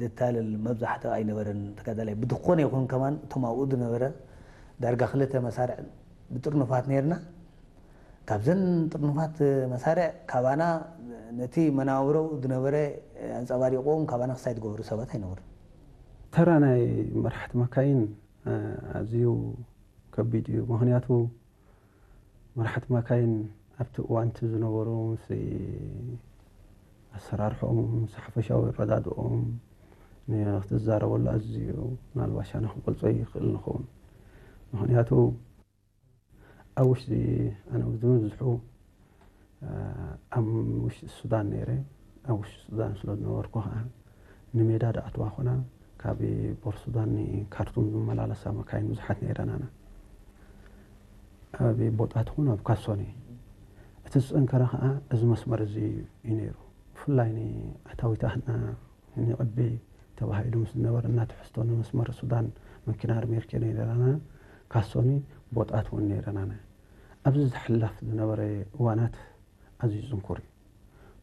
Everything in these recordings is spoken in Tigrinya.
ዘታልል መብዛሕትኡ ኣይነበረን ተጋዳላይ። ብዝኾነ ይኹን ከማን እቶም ኣብኡ ዝነበረ ዳርጋ ክልተ መሳርዕ ብጥርኑፋት ነይርና። ካብዘን ጥርኑፋት መሳርዕ ካባና ነቲ መናብሮኡ ዝነበረ ኣንጸባሪቕዎም ካባና ክሳይ ዝገበሩ ሰባት ኣይነበሩን። ተራ ናይ መራሕቲ መካይን ኣዝዩ ከቢድ እዩ። ምኽንያቱ መራሕቲ መካይን ኣብቲ እዋንቲ ዝነበሩ ምስ ኣሰራርሖም ምስ ሓፈሻዊ ኣረዳድኦም ንክትዛረበሉ ኣዝዩ ምናልባሽ ኣነ ክገልጾ ይኽእል ንኸውን። ምኽንያቱ ኣብ ውሽጢ ኣነ ዝብዝሑ ኣብ ውሽጢ ሱዳን ነይረ። ኣብ ውሽጢ ሱዳን ስለ ዝነበርኩ ከዓ ንሜዳ ድኣትዋ ኮና ካብ ቦር ሱዳን ንካርቱም ዝመላለሳ መካይን ብዙሓት ነይረናና። ኣብ ቦጣት ኹን ኣብ ካሶኒ እቲ ዝፀንከረ ከዓ እዚ መስመር እዚ እዩ ነይሩ። ብፍላይ ንኣታዊታትና ንቕቢ ተባሂሉ ምስ ዝነበረና ትሕዝቶ ንመስመር ሱዳን መኪና ኣርሜርኬ ነይረናና። ካሶኒ ቦጣት እውን ነይረናና። ኣብዚ ዝሕለፍ ዝነበረ እዋናት ኣዝዩ ዝንኩር እዩ።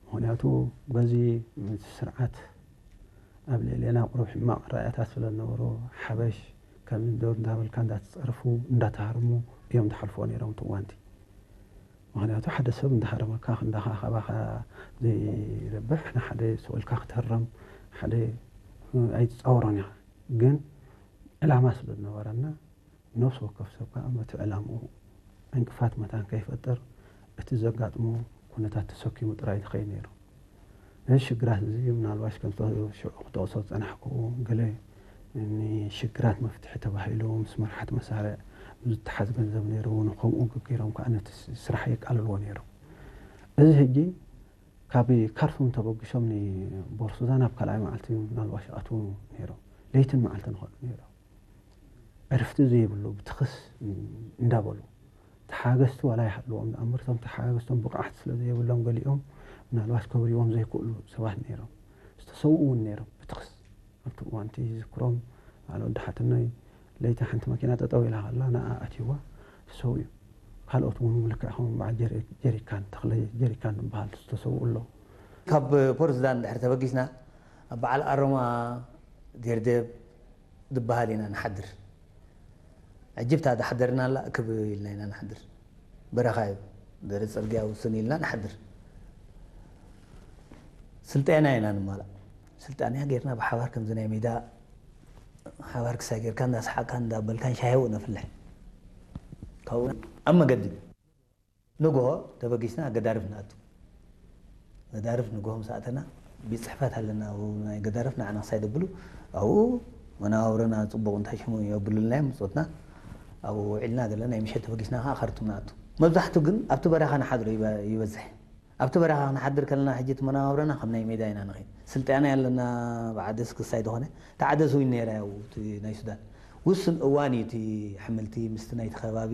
ምኽንያቱ በዚ ስርዓት ኣብ ልዕሌና ቁሩብ ሕማቕ ራእያታት ስለ ዝነበሮ ሓበሽ ከም ዶ እንዳበልካ እንዳተፀርፉ እንዳተሃርሙ እዮም ዝሓልፍዎ ነይሮም እቲ እዋንቲ። ምኽንያቱ ሓደ ሰብ እንዳሃረመካ እንዳኻ ካባኻ ዘይረብሕ ንሓደ ሰው ኢልካ ክትህረም ሓደ ኣይትፃወሮን ኢኻ። ግን ዕላማ ስለ ዝነበረና ነፍሲ ወከፍ ሰብ ከዓ በቲ ዕላምኡ ዕንቅፋት መታን ከይፈጥር እቲ ዘጋጥሞ ኩነታት ተሰኪሙ ጥራይ ዝኸይድ ነይሩ። ነዚ ሽግራት እዚ ምናልባሽ ከም ሽዑ ክጠቕሶ ዝፀናሕክዎ ገለ ንሽግራት መፍትሒ ተባሂሉ ምስ መርሓት መሳርዕ ዝተሓዝ ገንዘብ ነይሩ እውን ከምኡ ገገይሮም ከዓ ነቲ ስራሕ የቃልልዎ ነይሮም። እዚ ሕጂ ካብ ካርቱም ተበጊሶም ንቦር ሱዳን ኣብ ካልኣይ መዓልቲ ምናልባሽ ይኣትዉ ነይሮም። ለይትን መዓልትን ይኸዱ ነይሮም። ዕርፍቲ ዘይብሉ ብትኽስ እንዳበሉ ተሓገዝቲ ዋላ ይሃልዎም ዝኣምር እቶም ተሓገዝቶም ብቕዓት ስለ ዘይብሎም ገሊኦም ምናልባሽ ከብርዎም ዘይክእሉ ሰባት ነይሮም። ዝተሰውኡ እውን ነይሮም ብትኽስ ኣብቲ እዋንቲ ዝዝክሮም በዓል ወዲ ሓትኖይ ለይቲ ሓንቲ መኪና ጠጠው ኢላ ከላ ንኣ ኣትይዋ ተሰውኡ። ካልኦት እውን ልክዕ ከም በዓል ጀሪካን ተኽለ ጀሪካን ዝበሃል ዝተሰውኡ ኣለዉ። ካብ ፖርትሱዳን ድሕሪ ተበጊስና ኣብ በዓል ኣሮማ ዴርዴብ ዝበሃል ኢና ንሓድር። ዕጅብታ ዝሓደርናላ እክብ ኢልና ኢና ንሓድር። በረኻ እዩ፣ ደረት ጽርግያ ውስን ኢልና ንሓድር። ስልጠና ኢና ንማላእ። ስልጠና ጌርና ብሓባር ከምዚ ናይ ሜዳ ሓባር ክሳይ ጌርካ እንዳሰሓቅካን እንዳበልካን ሻሂ እውን ነፍልሕ። ካብኡ ኣብ መገዲ ንግሆ ተበጊስና ገዳርፍ ንኣቱ። ገዳርፍ ንግሆ ምስ ኣተና ቤት ጽሕፈት ኣለና፣ ኣብኡ ናይ ገዳርፍ ንዓና ክሳይ ደብሉ ኣብኡ መነባብሮና ጽቡቕ እንታይ ሽሙ የብሉልና እዮም ብጾትና ኣብኡ ውዒልና ዘለና ናይ ምሸት ተበጊስና ከዓ ካርቱም ንኣቱ። መብዛሕቱ ግን ኣብቲ በረኻ ንሓድሮ ይበ- ይበዝሕ። ኣብቲ በረኻ ክንሓድር ከለና ሕጂ እቲ መነባብሮና ከም ናይ ሜዳ ኢና ንኸይድ። ስልጠና ኣለና ብዓደስ ክሳይ ዝኾነ ተዓደስ እውን ነይራ ያው እቲ ናይ ሱዳን ውስን እዋን እዩ እቲ ሕምልቲ ምስቲ ናይቲ ከባቢ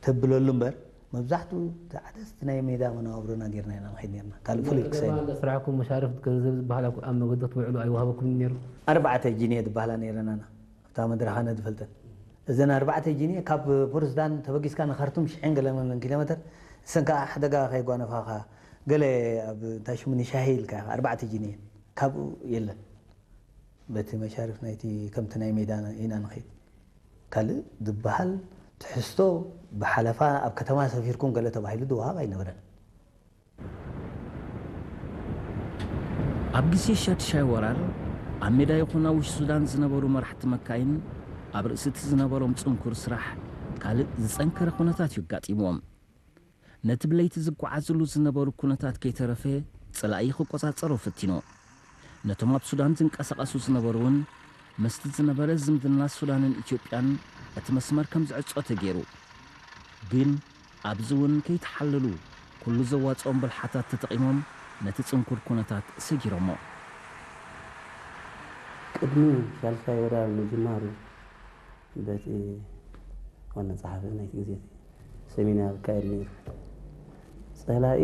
ተብለሉ እምበር መብዛሕትኡ ተዓደስ እቲ ናይ ሜዳ መነባብሮና ጌርና ኢና ንኸይድ ነርና ካልእ ፍሉይ ክሳይ ስራሕኩም መሻርፍ ገንዘብ ዝበሃል ኣብ መገዲ ክትውዕሉ ኣይወሃበኩምን ነይሩ። ኣርባዕተ ጂንየ ዝበሃላ ነይረናና ኣብታ መድረኻነ ዝፈልጠን እዘን ኣርባዕተ ጂንየ ካብ ፖርትሱዳን ተበጊስካ ንካርቱም ሽሕን ገለመን ኪሎ ሜተር እሰን ከዓ ሓደጋ ከይጓነፋኻ ገለ ኣብ እንታይ ሽሙ ንሻሂ ኢልካ ኢኻ ኣርባዕተ ጂንየ ካብኡ የለን በቲ መሻርፍ ናይቲ ከምቲ ናይ ሜዳ ኢና ንኸይድ ካልእ ዝበሃል ትሕዝቶ ብሓለፋ ኣብ ከተማ ሰፊርኩም ገለ ተባሂሉ ዝወሃብ ኣይነበረን። ኣብ ግዜ ሻድሻይ ወራር ኣብ ሜዳ ይኹን ኣብ ውሽጢ ሱዳን ዝነበሩ መራሕቲ መካይን ኣብ ርእሲ እቲ ዝነበሮም ጽንኩር ስራሕ ካልእ ዝጸንከረ ኩነታት እዩ ኣጋጢምዎም። ነቲ ብለይቲ ዝጓዓዝሉ ዝነበሩ ኩነታት ከይተረፈ ጸላኢ ክቆጻጸሮ ፈቲኑ። ነቶም ኣብ ሱዳን ዝንቀሳቐሱ ዝነበሩ እውን ምስቲ ዝነበረ ዝምድና ሱዳንን ኢትዮጵያን እቲ መስመር ከም ዝዕጾ ተገይሩ። ግን ኣብዚ እውን ከይተሓለሉ ኩሉ ዘዋጽኦም ብልሓታት ተጠቒሞም ነቲ ጽንኩር ኩነታት ሰጊሮሞ። ቅድሚ ሻልሻይ ወራር ምጅማሩ በቲ ዋና ጸሓፊ ናይቲ ግዜ እቲ ሰሚናር ይካየድ ነይሩ። ጸላኢ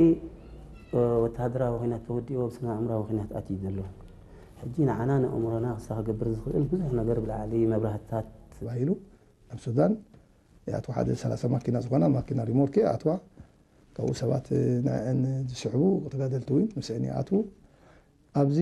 ወተሃደራዊ ኲናት ተወዲኡ ኣብ ስነ ኣእምራዊ ኲናት ኣትዩ ዘሎ። ሕጂ ንዓና ንኣእምሮና ክሳ ክገብር ዝኽእል ብዙሕ ነገር ብላዕሊ መብራህትታት ተባሂሉ ናብ ሱዳን ይኣትዋ ሓደ ሰላሳ ማኪና ዝኾና ማኪና ሪሞርኬ ይኣትዋ ካብኡ ሰባት ንዕን ዝስሕቡ ተጋደልቲ እውን ምስዕን ይኣትዉ ኣብዚ